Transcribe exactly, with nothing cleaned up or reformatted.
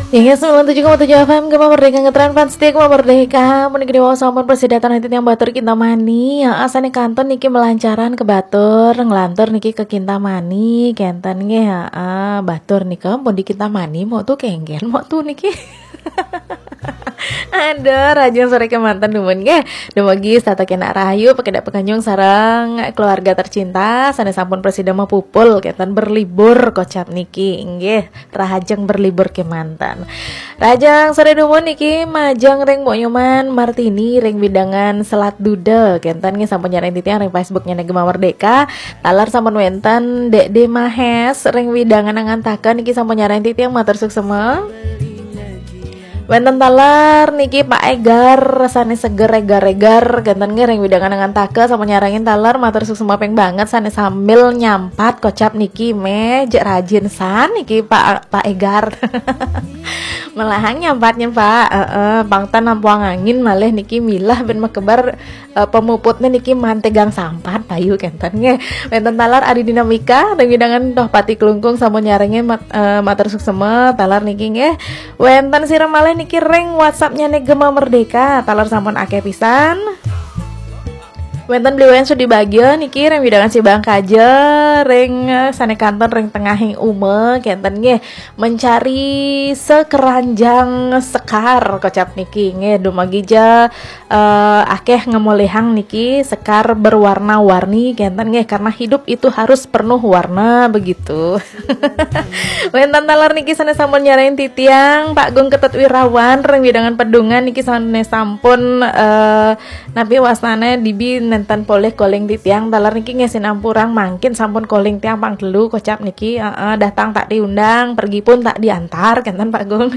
Inggih, sembilan tujuh koma tujuh F M Gema Merdeka, ngetren fans setia Gema Merdeka. Mun niki diwaos sampun prasida dateng hati tiang batur Kintamani. Ya, asane kantun niki melancaran ke batur, ngelantur niki ke Kintamani, kenten nggih, heeh, batur nika pun di Kintamani, mau tuh kengken, mau tuh niki. Aduh, rahajeng sore kemanten dumun nggih. Dumugi setata kenak rahayu, pakedak pakanyung sareng keluarga tercinta, sane sampun prasida mapupul, kenten berlibur kocap niki, nggih. Rahajeng berlibur kemanten. Rahajeng sore dumun niki majeng ring Mbok Nyoman Martini ring wewidangan Selat Duda. Kenten nggih sampun nyarengin titiang ring Facebooknya Gema Merdeka. Taler sampun wenten Dek De Mahes ring wewidangan Angantaka niki sampun nyarengin titiang, matur suksema. Wenten taler niki Pak Egar, sane seger egar-egar, kenten nggih ring wewidangan Angantaka sampun nyarengin taler, matur suksema ping banget, sane sambil nyampat kocap niki meh, jek rajin san niki Pak, Pak Egar. Melahang nyampat-nyampat, heeh, pang ten nampuang angin malih niki milah ben mekebar, eh, pemuputne niki mantegang sampat payu kenten nggih. Wenten taler Adi Dinamika, ring wewidangan Tohpati Klungkung sampun nyarengin mat-, eh, matur suksema, taler niki nggih. Wenten sira malih niki ring WhatsApp-nya Gema Merdeka, taler sampun akeh pisan. Wenten Bli Wayan Sudi Bagja niki ring wewidangan Sibangkaja, ring, eh, sane kantun ring tengahing uma, kenten nggih. Mencari sekeranjang sekar kocap niki nggih, dumugi ja, eh, akeh ngemolihang niki sekar berwarna-warni, kenten nggih, karena hidup itu harus penuh warna begitu. Wenten taler niki sane sampun nyarengin titiang, Pak Gung Ketut Wirawan ring wewidangan Pedungan niki sane sampun, eh, napi wastane dibi nenten polih calling titiang, taler niki nggih sinampurang mangkin sampun calling tiang pang telu kocap niki, heeh, datang tak diundang, pergi pun tak diantar, kenten Pak Gung.